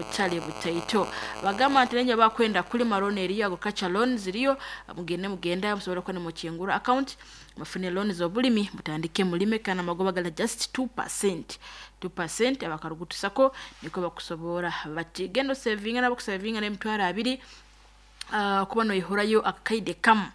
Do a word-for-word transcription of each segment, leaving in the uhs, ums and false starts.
Butale butaito. Bagamba nti nenye bakwenda kulima loan eriyo, agriculture loans ziriyo. Mugende, mugenda musobole kuba nimukingura account, mufune loan z'obulimi, mutandike mulime, kandi amagoba gala just two percent, two percent. Abakarugutu SACCO niko bakusobora bati genda osevinga, nabo kusevinga n'emitwaro abiri, uh, kuba noihurayo akakaide kamu.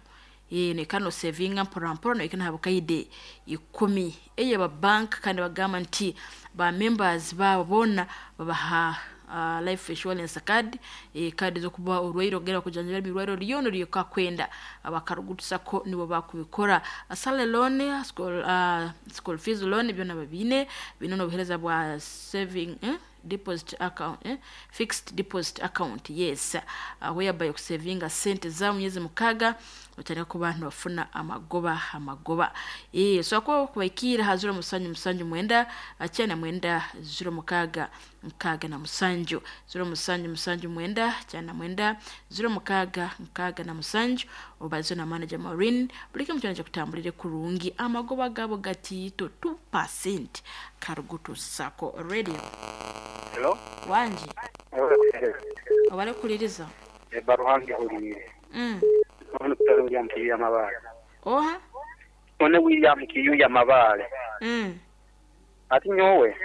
Eh, nekano sevinga mpora mpora, noikana habukaide ikumi eye ba bank. Kandi bagamba nti ba members babo bona babaha uh, life insurance card, eh, card zokuba orwaire ogera kujanjaba emirwaire lyona lyokakwenda. Abakarugutu SACCO nibo bakubikora. Asale loan, school, uh, school fees loan, byona babine bino, n'obuhereza bwa saving, eh? Deposit account, eh? Fixed deposit account, yes, uh, whereby okusevinga sente za myezi mukaga otandika kuba nofuna amagoba amagoba eh so ko kubaikira ha zero musanju musanju mwenda kyana mwenda zero mukaaga mukaaga na musanju, zero musanju musanju mwenda kyana mwenda zero mukaaga mukaaga na musanju. Obaze na manager Maureen, buli kimu kyona kyakutambulire kurungi. Amagoba gabo gatiito, two percent. Karugutu SACCO Radio. Hello? Wangi. Obale kuliriza. Baruhange hulire. mm. Ono kutali William Kiyuya Mabale. Oha. One William Kiyuya Mabale. mm. Ati nyowe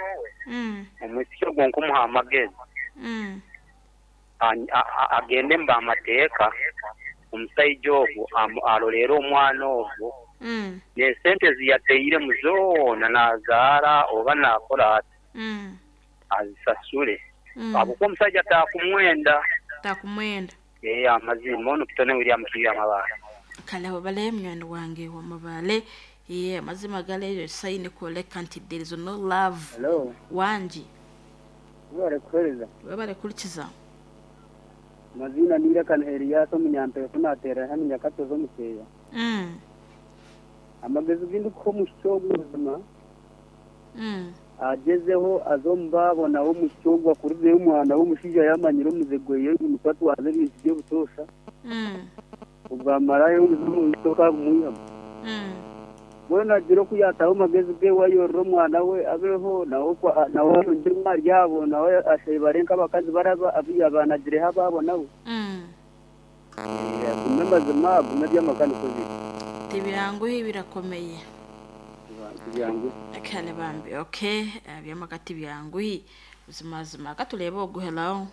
mm. omwisiki ogwo nkumuha amagezi mm. a- a- agende mba amateeka, omusaija ogwo amu- alolere omwana ogwo mm. nesente ziyateiremu zoona nazaara oba nakola ati mm. azisasule, mm. abukuba omusajja takumwenda. Takumwenda. Ee, amazima ono kitone William Kiyuya Mabale. Kale obale munywani wange wamabale. Ye amazima galeyo sayini kwoleka nti there is no love. Hello, wangi. webale kuhereza. Webale kurikiza. Mazina nirekana Elias omunyampeko, nateera hano Nyakatozi omukeya. mm. Amagezi gindi kuha omushiki ogwo buzima mm. agezeho aze omu nawe omushiki ogwo akurizeyo omwana w'omushaija yamanyire omuze gweye nikwo atwaza ebintu by'obutoosha. mm. Obwamarayo omuze omushiki okamwihamu. mm. Mbwenu agira oku yataho amagezi ge, wayorora omwana we abeho nawe okwa- nawe ayongye ahari abo, nawe ashebare nk'abakazi baraba abanagireho abaabo nawe. mm. Eh, agume mazima, agume eby'amaka niko biri. Tibyanguhi, birakomeye. Tibyanguhi. Kale bambi, okay, eh, byamaka tibyanguhi buzimazima. Katulebe ogu. Hello,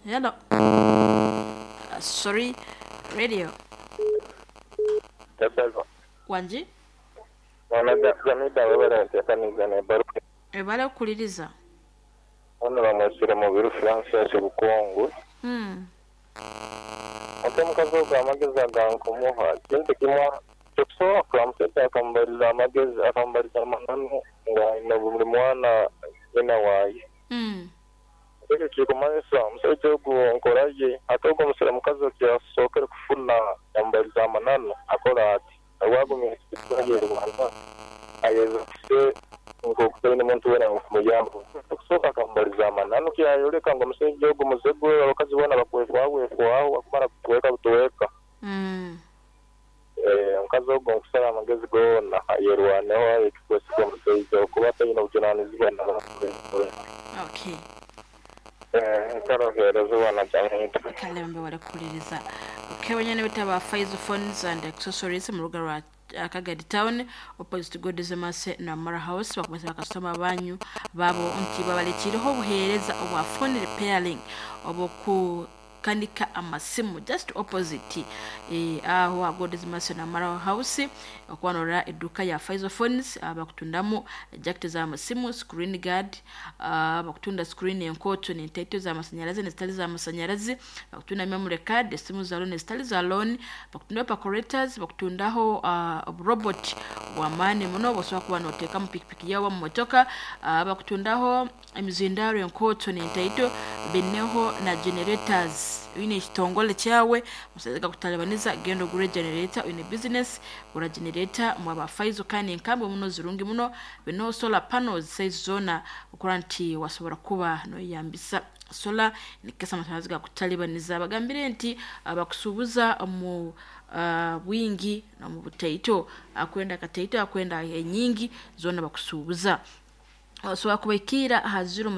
hello, uh, sorry, radio. Tabelo. Wangi. Ona Jamida, webale nteekaniza nebaruka. Ebale okuliriza. Ono bamwesire Mubiru Francis Bukungu. mm. Ate omukazi ogwo amagezi agankumuha kintu kimwe kyokusooka, omusajja akamubaliza amagezi, akamubaliza amananu nga buli mwana nyina waaye. Mm. Ekyo kikumanyisa omusajja ogwo nkora ye, ate ogwo omusore mukazi okyasookere kufuna yamubaliza amananu, akola ati agwagumya yerwana ayeza kuse nk'okutaine muntu wena kumuyamba. Okusooka akamubaliza amananu kyayoleka ngu omusajja ogwo muze gwe, abakazi boona bakwefwaho akumara kutuweka butuweka. Mm. Eh, omukazi ogwo nkusaba amagezi goona ayerwaneho, ayeke kwesiga omusajja okuba ataine obujunanizibwa. Okay. Nkarohereza obwana Jamida. Kale bambi, wale kukuliriza. Okay, wenyene bitaba Faiz Phones and Accessories mu ruga rwa uh, Kagadi Town, opposite Godizemase na Mara House, bakumasa bakasitoma banyu babo nti babalekireho obuheereza obwa phone repairing, obwoku kanika amasimu, just opposite eh, aho Godizemase na Mara House, okwanora edduka ya Faizo Phones. uh, bakutundamu jacket z'amasimu, screen guard, uh, bakutunda screen enkoto n'entaito z'amasanyalaze nezitali z'amasanyalaze, bakutunda memory card, esimu za loan ezitali za loan, bakutunda percolators, bakutundaho uh, robot bwamaani muno bosobola kuba noteeka mu pikipiki yawe, mu motoka, uh, bakutundaho emizindaro enkoto n'entaito, bineho na generators. Oyine ekitongole kyawe musaiza gakutalibaniza, genda ogure generator. Oyine business, gura generator mwaba Faizo. Kandi enkambi muno zirungi muno, bino solar panels size zona, okora nti wasobola kuba noyambisa solar nikesa amasanyalaze gakutalibaniza. Bagambire nti abakusuubuza mu uh, bwingi nomu butaito, akwenda kataito, akwenda enyingi zona bakusuubuza. Osobola kubaikira aha zero.